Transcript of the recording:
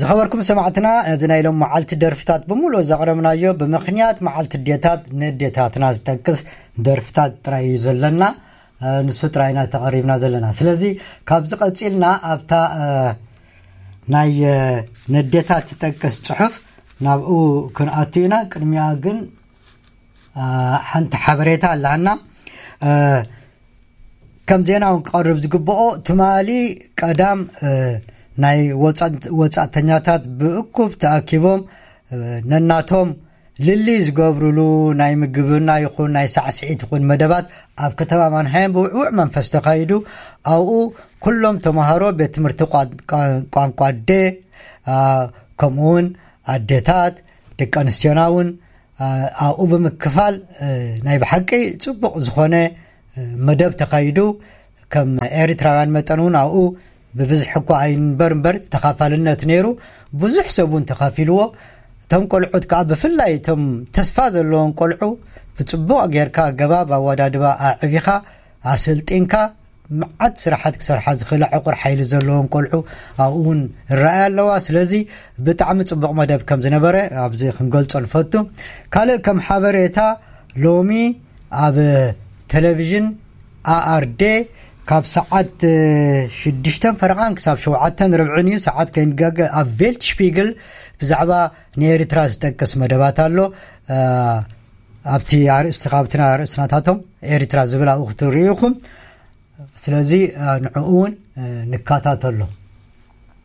ዝኸበርኩም ሰማዕትና፣ እዚ ናይ ሎም መዓልቲ ደርፍታት ብምሉእ ዘቕረብናዮ ብምኽንያት መዓልቲ ኣዴታት፣ ንኣዴታትና ዝጠቅስ ደርፍታት ጥራይ እዩ ዘለና። ንሱ ጥራይ ኢና ተቐሪብና ዘለና። ስለዚ ካብዚ ቀጺልና ኣብታ ናይ ነዴታት ትጠቅስ ጽሑፍ ናብኡ ክንኣቱ ኢና። ቅድሚያ ግን ሓንቲ ሓበሬታ ኣለና። ከም ዜና እውን ክቐርብ ዝግብኦ፣ ትማሊ ቀዳም ናይ ወጻእተኛታት ብእኩብ ተኣኪቦም ነናቶም ልሊ ዝገብርሉ ናይ ምግብና ይኹን ናይ ሳዕስዒት ይኹን መደባት ኣብ ከተማ ማንሃይም ብውዕውዕ መንፈስ ተኻይዱ። ኣብኡ ኩሎም ተምሃሮ ቤት ትምህርቲ ቋንቋ ኣዴ፣ ከምኡውን ኣዴታት፣ ደቂ ኣንስትዮና እውን ኣብኡ ብምክፋል ናይ ብሓቂ ጽቡቕ ዝኾነ መደብ ተኻይዱ። ከም ኤርትራውያን መጠን እውን ኣብኡ ብብዝሒ እኳ ኣይንበር እምበር ተኻፋልነት ነይሩ። ብዙሕ ሰብ እውን ተኻፊልዎ። እቶም ቆልዑት ከዓ ብፍላይ እቶም ተስፋ ዘለዎም ቆልዑ ብጽቡቕ ጌርካ ኣገባብ ኣወዳድባ ኣዕቢኻ ኣሰልጢንካ መዓት ስራሓት ክሰርሓ ዝኽእላ ዕቑር ሓይሊ ዘለዎም ቆልዑ ኣብኡ እውን ይረኣያ ኣለዋ። ስለዚ ብጣዕሚ ጽቡቕ መደብ ከም ዝነበረ ኣብዚ ክንገልጾ ንፈቱ። ካልእ ከም ሓበሬታ፣ ሎሚ ኣብ ቴሌቪዥን ኣኣርዴ ካብ ሰዓት ሽዱሽተን ፈረቓን ክሳብ ሸውዓተን ርብዕን እዩ ሰዓት ከይንጋገ ኣብ ቬልትሽፒግል ብዛዕባ ንኤርትራ ዝጠቅስ መደባት ኣሎ። ኣብቲ ኣርእስቲ ካብቲ ኣርእስናታቶም ኤርትራ ዝብል ኣብኡ ክትርእዩ ኢኹም። ስለዚ ንዕኡ እውን ንከታተሎ።